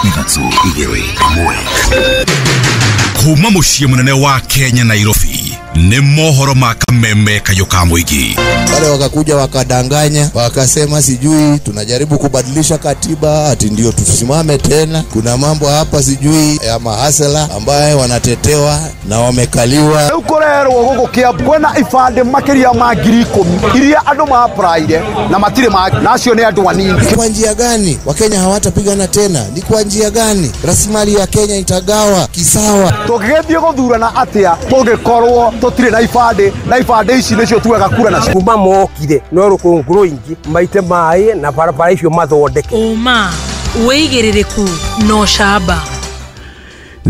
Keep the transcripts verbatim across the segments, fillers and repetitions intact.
Ithatũ, igĩrĩ, ĩmwe. Kuma mũciĩ mũnene wa Kenya, Nairobi, nĩ mohoro ma Kameme Kayũ ka Mũingĩ. Wale wakakuja wakadanganya, wakasema sijui tunajaribu kubadilisha katiba ati ndio tusimame tena. Kuna mambo hapa sijui ya mahasela ambaye wanatetewa na wamekaliwa. Rĩu kũrerwo gũkũ Kiambu kwĩna ibandĩ makĩria ma ngiri ikũmi iria andũ ma-applyire na matirĩ ma na acio nĩ andũ anini. Ni kwa njia gani Wakenya hawatapigana tena? Ni kwa njia gani rasilimali ya Kenya itagawa kisawa? Tũngĩgĩthiĩ gũthurana atĩa tũngĩkorwo tũtirĩ na ibandĩ, na ibandĩ ici nĩcio tuoyaga kura nacio? Kuma mokire no rũkũngũ rũingĩ maite maĩ na barabara icio mathondeke. Ũma, wĩigĩrĩrĩku na ũcamba.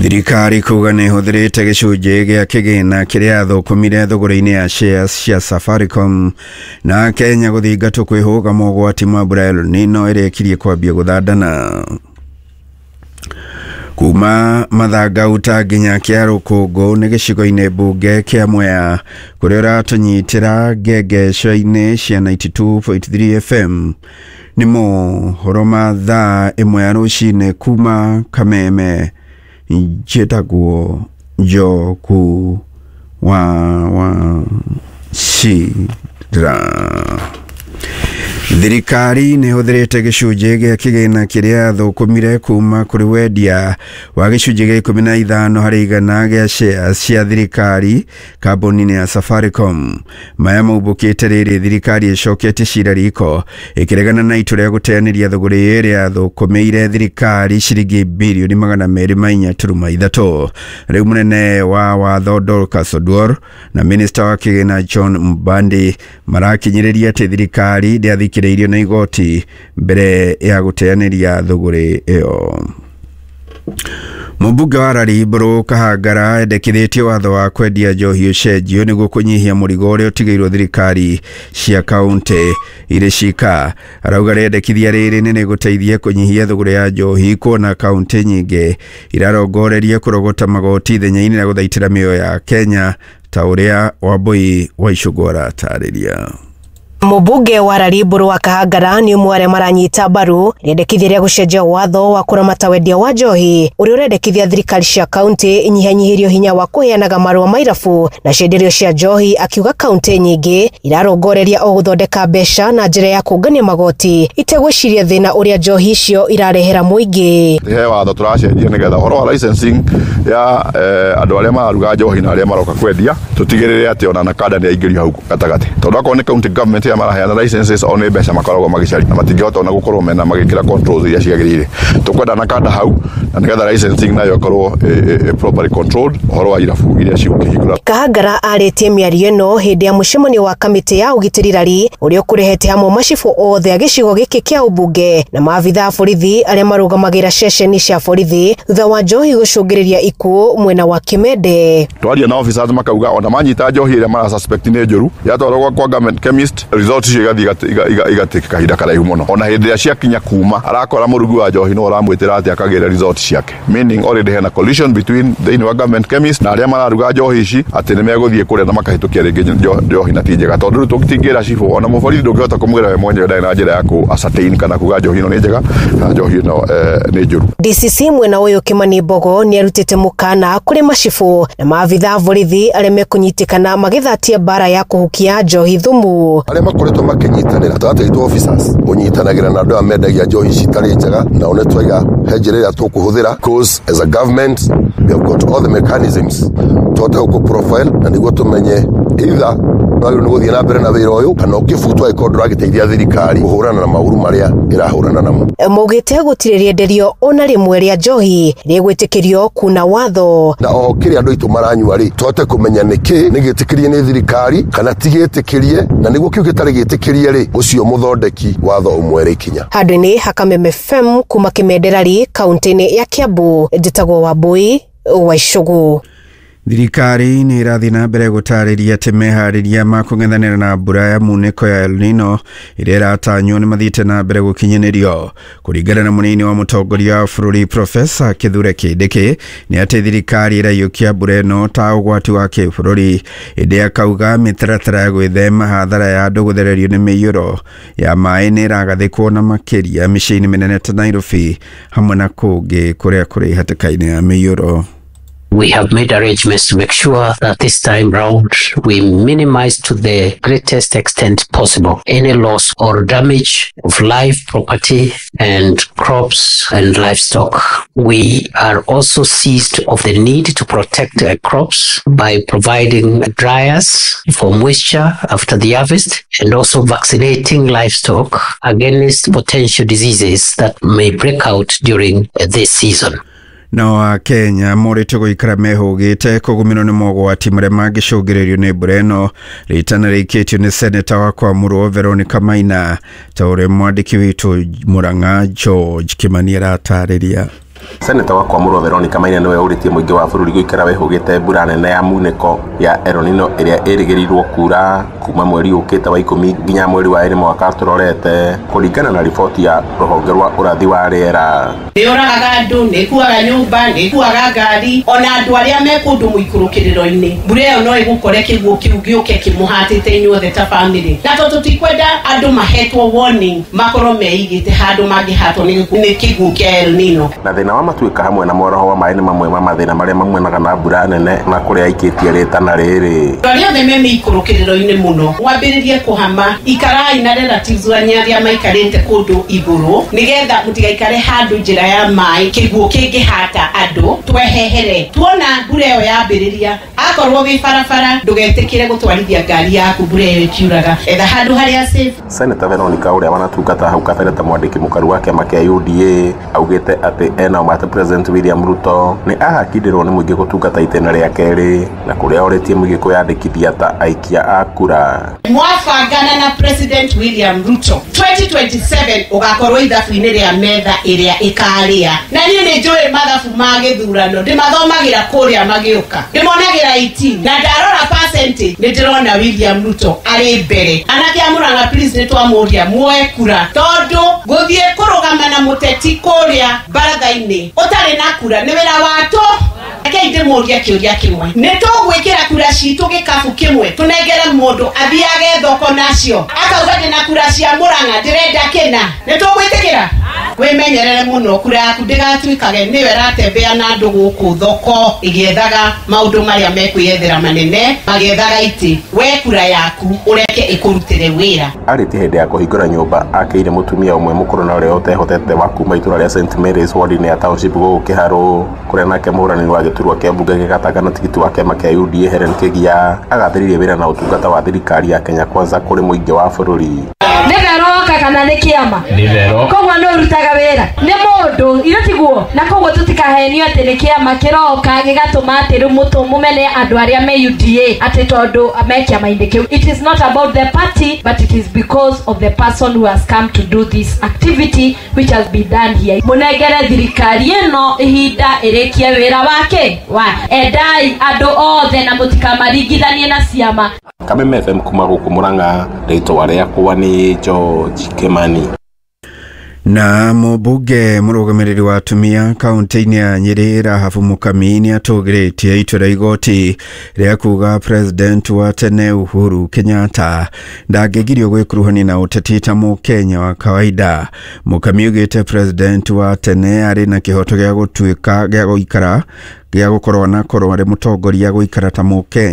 Thirikari kuga nĩ ĩhũthĩrĩte gĩcunjĩ gĩa kĩgĩna kĩrĩa yathũkũmire thũgũrĩ-inĩ ya shares cia Safaricom. Na Kenya gũthingatwo kwĩhũga mogwati ma mbura ya El Nino ĩrĩa ĩkirie kwambia gũthandana. Kuma Mathangauta nginya kĩa Rũkũngũ nĩ gĩcigo-inĩ mbunge kĩa Mwea kũrĩa ũratũnyitĩra ngengeco-inĩ cia ninety-two point three F M. Nĩ mohoro ma thaa ĩmwe ya rũcinĩ kuma Kameme. Njĩtagwo Njoku wa wa Cira. Thirikari nĩ ĩhũthĩrĩte gĩcunjĩ gĩa kĩgĩna kĩrĩa yathũkũmire kuma kũrĩ wendia wa gĩcunjĩ gĩa ikũmi na ithano harĩ igana gĩa shares cia thirikari kambuni-inĩ ya Safaricom. Maya maumbũkĩte rĩrĩ thirikari ĩcoketie cira riko ĩkĩregana na itua rĩa gũteanĩria thũgũrĩ ĩrĩa yathũkũmĩire thirikari ciringi birioni magana merĩ ma inya turuma ithatũ. Rĩu mũnene wa watho Dorcas Oduor na minista wa kĩgĩna John Mbandi marakinyĩrĩria atĩ thirikari ndĩathikĩrĩirio nĩ igoti mbere ya gũteanĩria thũgũrĩ ĩyo. Mũmbunge wa Rari Kahangara endekithĩtie watho wa kwendia njohi ũcenjio nĩguo kũnyihia mũrigo ũrĩa ũtigĩirwo thirikari cia kaunti irĩ cika. Arauga rĩendekithia rĩrĩ nĩ rĩgũteithia kũnyihia thũgũrĩ ya njohi, kuona kaunti nyingĩ irarongoreria kũrogota magoti ithenya-inĩ rĩa gũthaitĩra mĩoyo ya Kenya, ta ũrĩa Wambui wa Icũngũ aratarĩria. Mũmbunge wa Rari wa Kahangara nĩ ũmwe arĩa maranyita mbaru rĩendekithia rĩa gũcenjia watho wa kũramata wendia wa njohi, ũrĩa ũrendekithia thirikari cia kaunti inyihanyihĩrio hinya wa kũheanaga marũa ma irabu na cienderio cia njohi, akiuga kaunti nyingĩ irarongoreria o gũthondeka mbeca na njĩra ya kũngania magoti itegwĩciria thĩna ũrĩa njohi icio irarehera mũingĩ. He watho tũracenjia nĩgetha ũhoro wa licensing ya eh, andũ arĩa mararuga njohi na arĩa maroka kwendia, tũtigĩrĩre atĩ ona NACADA nĩ aingĩrio hau gatagatĩ, tondũ akorwo nĩ county government ĩrĩa maraheana licenses, o nĩ mbeca makoragwo magĩcaria na matingĩhota ona gũkorwo mena magĩkĩra controls iria ciagĩrĩire. Tũkwenda NACADA hau na nĩgetha licensing nayo ĩkorwo ĩ- ĩ- properly controlled, ũhoro wa irabu iria cigũkĩhingũra. Kahangara arĩtie mĩario ĩno hĩndĩ ya mũcemanio wa kamĩtĩ ya ũgitĩri Rari, ũrĩa ũkũrehete hamwe macibũ othe a gĩcigo gĩkĩ kĩa ũmbunge na maabitha a borithi arĩa marũgamagĩra ceceni cia borithi, thutha wa njohi gũcũngĩrĩria ikuũ mwena wa Kimende. Twaria na officers makauga ona manyita njohi ĩrĩa mara suspect nĩ njũru, yatwarwo kwa government chemist, result icio igathiĩ iga- iga- igatake kahinda karaihu mũno. Ona hĩndĩ ĩrĩa ciakinya kuma arakora mũrugi wa njohi no ũramwĩtĩra atĩ akagĩra result ciake, meaning already hena collision between thĩinĩ wa government chemist na arĩa mararuga njohi ici, atĩ nĩ megũthiĩ kũrĩa na makahĩtũkia rĩngĩ njo- njohi na ti njega, tondũ rĩu tũtingĩra cibũ ona mũborithi ndũngĩhota kũmwĩra we mwenyewe ndarĩ na njĩra ya kũ ascertain kana kuga njohi ĩno nĩ njega kana njohi ĩno eh, nĩ njũru. D C C mwena ũyũ Kimani Mbogo nĩ arutĩte mũkana kũrĩ macibũ na maabitha a borithi arĩa mekũnyitĩkana magĩthatia mbara ya kũhukia njohi thumu. Arĩa makoretwo makĩnyitanĩra gatagatĩ gaitũ officers ũnyitanagĩra na andũ aya mendagia njohi ici itarĩ njega, nao nĩ twaiga he njĩra ĩrĩa tũkũhũthĩra, because as a government we have got all the mechanisms tũhote gũkũ profile na nĩguo tũmenye either wagĩrĩirwo nĩ gũthiĩ na mbere na wĩra ũyũ kana ũkĩbutwo angĩkorwo ndũragĩteithia thirikari kũhũrana na maũru marĩa ĩrahũrana namo. Maugĩte gũtirĩ rĩenderio ona rĩmwe rĩa njohi rĩgwĩtĩkĩrio kuna watho. Na oho kĩrĩa andũ aitũ maranyua rĩ, tũhote kũmenya nĩkĩ nĩ gĩtĩkĩrie nĩ thirikari kana ti gĩtĩkĩrie, na nĩguo kĩu gĩtarĩ gĩtĩkĩrie rĩ, ũcio mũthondeki watho ũmwere ikinya. Handũ-inĩ ha Kameme F M kuma Kĩmenderari, kaunti-inĩ ya Kiambu, njĩtagwo Wambui wa Icũgũ. Thirikari nĩ ĩrathiĩ na mbere gũtarĩria atĩ meharĩria ma kũng'ethanĩra na mbura ya munĩko ya El Nino ĩrĩa ĩratanywo nĩ mathiĩte na mbere gũkinyanĩrio. Kũringana na mũnini wa mũtongoria wa bũrũri Profesa Kithure Kindiki, nĩ atĩ thirikari ĩraiyũkia mbura ĩno ta ũgwati wa kĩbũrũri, ĩndĩ akauga mĩtaratara ya gwĩthema hathara ya andũ gũthererio nĩ mĩiyũro ya maĩ nĩ ĩragathĩkwo na makĩria mĩciĩ-inĩ mĩnene ta Nairobi hamwe na kũngĩ kũrĩa kũrĩ hatĩka-inĩ ya mĩiyũro. We have made arrangements to make sure that this time round we minimize to the greatest extent possible any loss or damage of life, property, and crops and livestock. We are also seized of the need to protect uh, crops by providing dryers for moisture after the harvest and also vaccinating livestock against potential diseases that may break out during uh, this season. Nao Akenya morĩtio gũikara mehũgĩte kũgũmĩrwo nĩ mogwati marĩa mangĩcũngĩrĩrio nĩ mbura ĩno. Rĩtana rĩikĩtio nĩ seneta wa Kwamũrwo Veronica Maina, ta ũrĩa mwandĩki witũ Mũrang'a George Kĩmani aratarĩria. Seneta wa Kwamũrwo Veronica Maina nĩwe ũrĩtie mũingĩ wa bũrũri gũikara wĩhũgĩte mbura nene ya munĩko ya El Nino ĩrĩa ĩrĩgĩrĩirwo kura kuma mweri ũkĩte wa ikũmi nginya mweri wa ĩrĩ mwaka tũrorete, kũringana na riboti ya rũhonge rwa ũrathi wa rĩera. Nĩ ũragaga andũ, nĩ ĩkuaga nyũmba, nĩ ĩkuaga ngari, ona andũ arĩa me kũndũ mũikũrũkĩrĩro-inĩ. Mbura ĩyo no ĩgũkore kĩguũ kĩu gĩũke kĩmũhatĩte inyuothe ta family. Na tondũ tũtikwenda andũ mahetwo warning makorwo meigĩte handũ mangĩhatwo nĩ kĩguũ kĩa El Nino. Na thĩna wa matuĩka hamwe na mwaraho wa maĩ nĩ mamwe ma mathĩna marĩa maumanaga na mbura nene na kũrĩa aikĩtie rĩtana rĩrĩ. Andũ arĩa othe me mĩikũrũkĩrĩro-inĩ mũno mwambĩrĩrie kũhama, ikarai na relatives wanyu arĩa maikarĩte kũndũ igũrũ nĩgetha mũtigaikare handũ njĩra ya maĩ kĩguũ kĩngĩhata andũ, twehehere. Tuona mbura ĩyo yambĩrĩria, akorwo wĩ barabara ndũgetĩkĩre gũtwarithia ngari yaku mbura ĩyo ĩkiuraga, etha handũ harĩa safe. Senator Veronica ũrĩa wanatungata hau kabere ta mwandĩki mũkaru wa kĩama kĩa U D A augĩte atĩ ena ũma atĩ President William Ruto nĩ ahakindĩrwo nĩ mũingĩ gũtungata itĩna rĩa kerĩ na kũrĩa orĩtie mũingĩ kwĩyandĩkithia ta aikia a kura. Mwabangana na President William Ruto twenty twenty-seven ũgakorwo ithabu-inĩ rĩa metha ĩrĩa ĩkarĩa. Na niĩ nĩ njũĩ mathabu ma gĩthurano, ndĩmathomagĩra kũrĩa magĩũka, ndĩmonagĩra eighteen na ndarora percentage nĩ ndĩrona William Ruto arĩ mbere. Anake a Mũrang'a please nĩ twamũria muoe kura, tondũ gũthiĩ kũrũgama na mũteti kũrĩa baratha-inĩ ũtarĩ na kura nĩ wĩra wa tũ. Rekei ndĩmũrie kĩũria kĩmwe, nĩ tũgwĩkĩra kura citũ gĩkabu kĩmwe tũnengere mũndũ athiage thoko nacio akauga ndĩna kura cia Mũrang'a ndĩrenda kĩna, nĩ tũgwĩtĩkĩra? Wĩmenyerere mũno kura yaku ndĩgatuĩkage nĩyo ĩratembea na andũ gũkũ thoko ĩgĩethaga maũndũ marĩa mekwĩyethera manene, magĩethaga itĩ. We kura yaku ũreke ĩkũrutĩre wĩra. Arĩtie hĩndĩ ya kũhingũra nyũmba akĩire mũtumia ũmwe mũkũrũ na ũrĩa ũtehotete wa kuma itũra rĩa Saint Mary's ward-inĩ ya Township gũkũ Kĩharũ, kũrĩa nake mũhũranĩri wa gĩturwa kĩa mbunge gĩa Gatanga na tigiti wa kĩama kĩa U D A Helen Kĩgia agathĩrĩirie wĩra na ũtungata wa thirikari ya Kenya Kwanza kũrĩ mũingĩ wa bũrũri. Nĩ Veroka kana nĩ kĩama? Nĩ Vero. Koguo nĩ ũrutaga wĩra nĩ mũndũ ithe tiguo, na koguo tũtikahenio atĩ nĩ kĩama kĩroka gĩgatũma atĩ rĩu mũtũ mũmene andũ arĩa me U D A atĩ tondũ me kĩama-inĩ kĩu. It is not about the party but it is because of the person who has come to do this activity which has been done here. Mũnengere thirikari ĩno ihinda ĩrĩkie wĩra wake wa endai andũ othe na mũtikamaringithanie na ciama. Kameme F M kuma gũkũ Mũrang'a, rĩtwa rĩakwa nĩ George Kimani. Na mũmbunge mũrũgamĩrĩri wa atumia kaunti-inĩ ya Nyĩrĩ Rahabu Mũkami nĩ atũgĩrĩtie itua rĩa igoti rĩa kuga President wa tene Uhuru Kenyatta ndangĩgirio gwĩkuruhania na ũteti ta mũkenya wa kawaida. Mũkami augĩte President wa tene arĩ na kĩhoto gĩa gũtuĩka gĩa gũikara gĩa gũkorwo na korwo arĩ mũtongoria gũikara ta mũkenya.